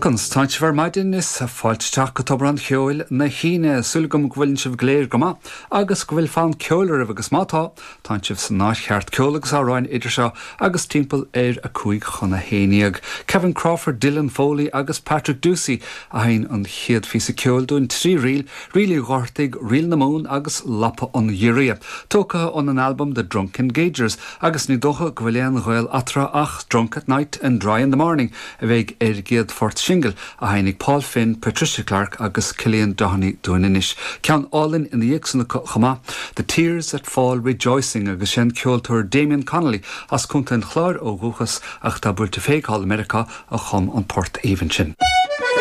Conas tánn sibh ar maidin is fáilte isteach go Tobar an Cheoil na hAoine. Súil agam go bhfuileann sibh go léir go maith agus go bhfuil fonn ceoil oraibh agus má tá, tánn sibh san áit cheart, ceol agus amhráin idir seo agus timpeall ar 10:55. Kevin Crawford, Dylan Foley agus Patrick Ducey a sheinn an chéad phíosa ceoil dúinn, 3 ríl, Ríl Uí Dhochartaigh, Ríl na Mumhan agus Lapa an Ghiorria, tógtha óna n-albam The Drunken Gaugers agus ní dócha go bhfuil aon ghaol eatarthu ach Drunk at Night and Dry in the Morning a bheidh ar an gcéad phort singil a sheinnfidh Paul Finn, Patricia Clarke agus Cillian Doheny dúinn anois. Ceann álainn ina dhiaidh san acu chomh maith, The Tears That Fall Rejoicing agus sé an ceoltóir Damien Connolly as Contae an Chláir ó dhúchas ach atá buailte féig thall i Meiriceá a chum an port aoibhinn sin.